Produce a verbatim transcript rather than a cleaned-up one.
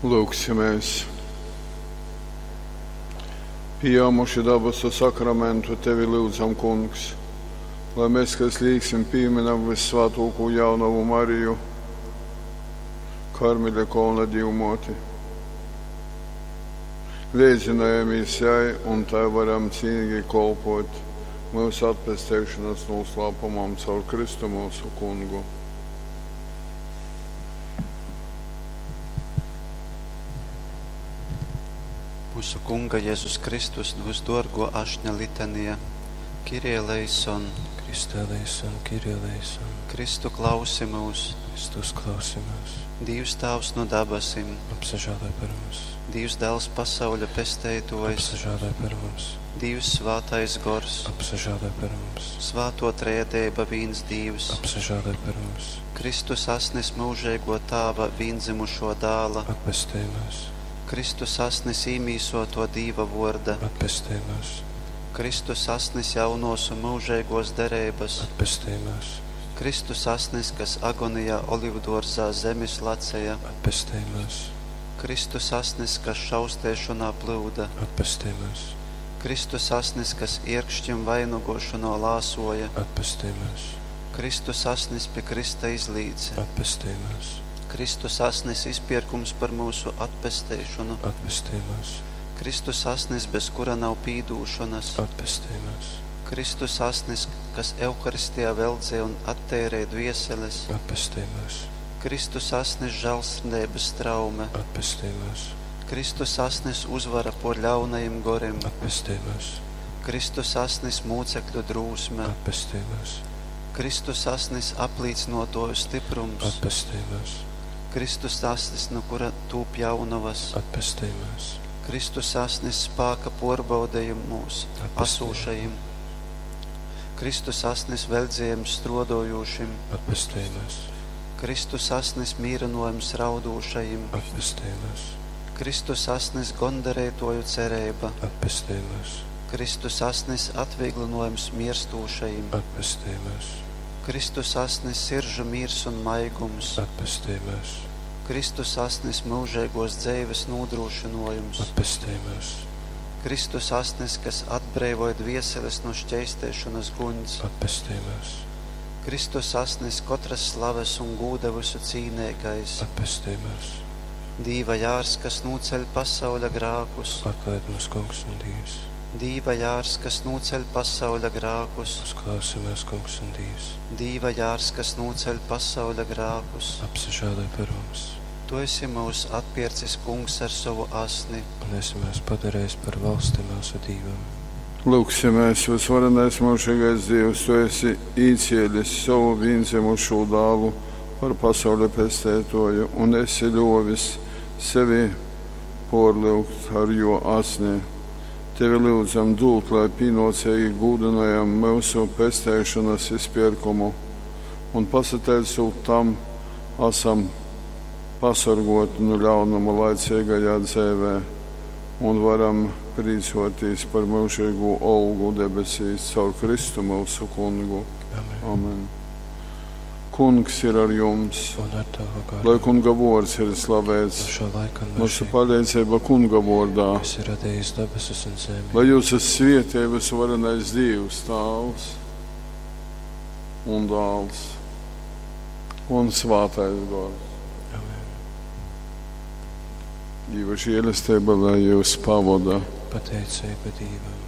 Lūgsimies! Pījāmuši dabasu sakramentu, tevi lyudzam, Kungs, lai mēs, kas līksim pīminam vissvātōko jaunavu Mariju, Karmeļa kolna Dīvmōti. Leidzinājamies jai un tai varam cīnīgi kolpot mūsu atpesteišanas noslēpumam caur Kristu mūsu Kungu. Mūsu Kunga Jēzus Kristus vysduorguo ašņa litanija. Kyrie eleison, Christe eleison, Kyrie eleison, Kristu klausi mūs, Kristus klausi mūs, Dīvs Tāvs no dabasim, apsažāloj par mums, Dīvs Dēls pasauļa pesteitojs, apsažāloj par mums, Dīvs Svātais Gors, apsažāloj par mums, Svāto Trejadeiba vīns Dīvs, apsažāloj par mums, Kristus asnis mūžeigo Tāva vīndzimušo dāla, atpestej mūs, Kristus asnis īmīsoto Dīva vorda, atpestej mūs, Kristus asnis jaunos un mūžeigos dereibas, atpestej mūs, Kristus asnis, kas agonijā olivdorzā zemis laceja, atpestej mūs, Kristus asnis, kas šaustēšanā plūda, atpestej mūs, Kristus asnis, kas ierkšķim vainugošanā lāsoja, atpestej mūs, Kristus asnis pie Krista izlīce, atpestej mūs, Kristus asnis izpirkums par mūsu atpesteišanu, atpestej mūs, Kristus asnis, bez kura nav pīdūšanas, atpestej mūs, Kristus asnis, kas Euharistijā veldzē un atteirē dvieseles, atpestej mūs, Kristus asnis žēlsirdības traume, atpestej mūs, Kristus asnis uzvara por ļaunajiem goriem, atpestej mūs, Kristus asnis mūcekļu drūsme, atpestej mūs, Kristus asnis aplīcinotoju stiprums, atpestej mūs, Kristus asnis, no kura tūp jaunavas, atpestej mūs, Kristus asnis spāka porbaudījumos asūšajim, Kristus asnis veldzējums strodojošim, atpestej mūs, Kristus asnis mīrinojums raudūšajim, atpestej mūs, Kristus asnis gondarētoju cerība, atpestej mūs, Kristus asnis atvieglinojums mirstūšajim, atpestej mūs, Kristus asnis siržu mirs un maigums, atpestej mūs, Kristus asnis mūžīgos dzeives nodrošinojums, atpestej mūs, Kristus asnis, kas atbrīvoja dvieseles no šķeistēšanas guņs, atpestej mūs, Kristus asnis katras slaves un gūda visu cīnīgais, atpestej mūs, Dīva jārs, kas nūceļ pasauļa grākus, atlaid mūs, Kungs un Dievs, Dīva jārs, kas nūceļ pasauļa grākus, uzklausi mūs, Kungs un Dievs, Dīva jārs, kas nūceļ pasauļa grākus, apsažāloj par mums, Tu esi mūs atpircis, Kungs, ar savu asni. un esi mūs padarījis par valsti mūsu Dīvam. Lūgsimies, visvarenais mūžīgais Dievs, Tu esi īcielis savu vīndzimušo dālu par pasaules pestētoju un esi ļovis sevi porliugt ar jo asni. Tevi lūdzam dūt, lai pīnocīgi gūdinājam mūsu pestēšanas izpirkumu un pasateicot tam, esam pasargoti no ļaunuma laicīgajā dzēvē un varam priecāties par mūžīgo olgu debesīs caur Kristu mūsu kungu. Amen. Amen. Kungs ir ar jums, Un ar tavu garu. lai kunga vārds ir slavēts, No šā laika un mūsu mūžīgi, palīdzība kunga vārdā. kas ir radījis debesis un zemi, Lai jūs esat svietē visvarenais Dievs, Tāvs un Dāls un Svātais Gors. Amen. Dīva žēlastība, lai jūs pavada. Pateicība Dievam.